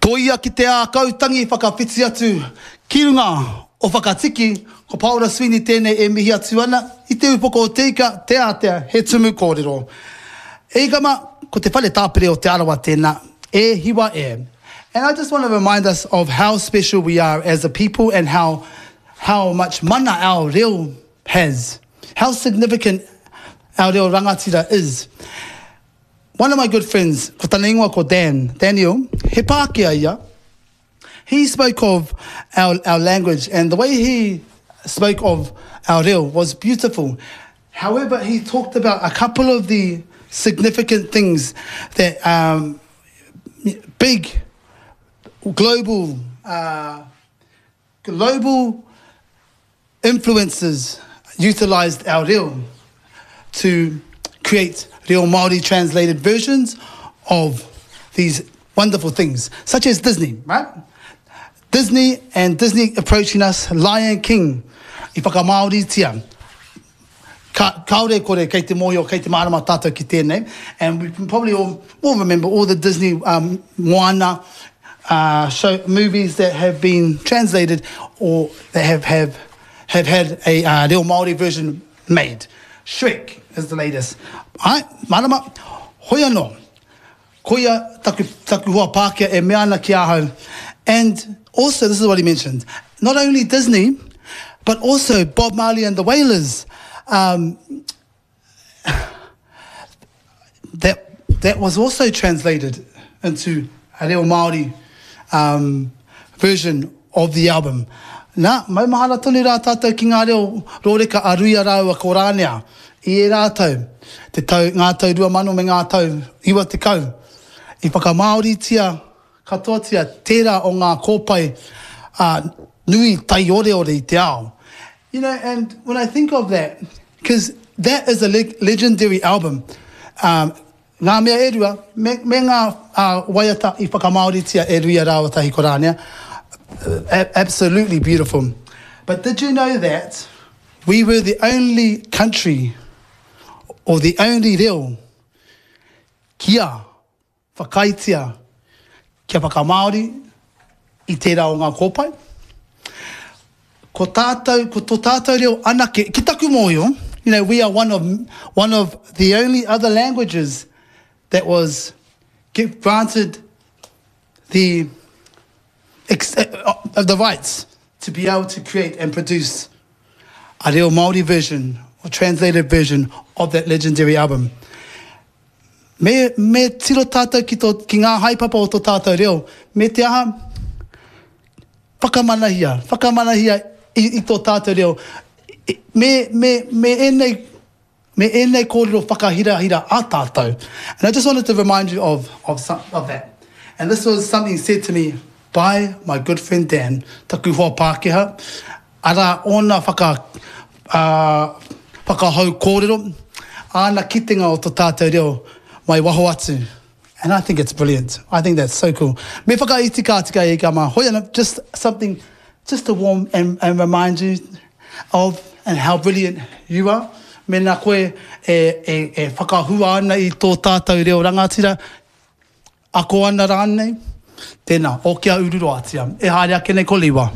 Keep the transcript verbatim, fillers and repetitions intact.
Toia ki te ākau tangi whakawhiti atu ki runga o Whakatiki, ko Paora Sweeney tēnei e mihi atu ana i te upoko o Te Ika, Te Ātea, he tumu kōrero. E ika ma, ko te whare tāpere o Te Arawa tēnā, e hiwa e. And I just want to remind us of how special we are as a people and how, how much mana our reo has. How significant our reo rangatira is. One of my good friends, ko tana ingoa ko Dan, Daniel, he Pākehā ia. He spoke of our, our language and the way he spoke of our reo was beautiful. However, he talked about a couple of the significant things that um, big global uh, global influences utilized our reo to create reo Māori translated versions of these wonderful things, such as Disney, right? Disney and Disney approaching us, Lion King, i whakamāoritia. Ka, kaore kore kei te mōhio, kei te mārama tātou ki tēnei. And we can probably all, all remember all the Disney um, Moana uh, show, movies that have been translated or that have, have, have had a uh, reo Māori version made. Shrek is the latest. Ai, marama, hoi anō. Koia taku, taku hoa Pākehā e mea ana ki ahau. And also, this is what he mentioned, not only Disney, but also Bob Marley and the Wailers. Um, that, that was also translated into a reo Māori um, version of the album. Nā, maumahara tonu rā tātou ki ngā reo rōreka a Ruia rāua ko Rānea. I ērā tau, te tau, ngā tau rua mano me ngā tau iwa tekau, i whakamāoritia katoatia tērā o ngā kōpae uh, nui taioreore i te ao. You know, and when I think of that, because that is a le legendary album, um, ngā mea e rua, me, me ngā uh, waiata i whakamāoritia e Ruia rāua tahi ko Rānea, absolutely beautiful. But did you know that we were the only country or the only reo kia whakaaetia kia whakamāori i tērā o ngā kōpae? Ko tātou, ko tō tātou reo anake, ki taku mōhio, you know, we are one of, one of the only other languages that was granted the, uh, the rights to be able to create and produce a reo Māori version or translated version of that legendary album. Me, me tiro tātou ki, tō, ki ngā haepapa o tō tātou reo, me te aha, whakamanahia, whakamanahia i, i tō tātou reo. Me, me, me ēnei, me ēnei kōrero whakahirahira a tātou. And I just wanted to remind you of, of, some, of that. And this was something said to me by my good friend Dan, taku hoa Pākehā, arā ōna whaka, uh, whakahau kōrero, āna kitenga o tō tātou reo mai waho atu. And I think it's brilliant. I think that's so cool. Me whakaiti ka tika e ka mā. Hoi ana, just something, just to warm and, and remind you of and how brilliant you are. Mēnā koe e, e, e whakahua ana i tō tātou reo rangatira, ako ana rānei, tēnā, o kia ururoatia. E haere ake nei ko Liwa.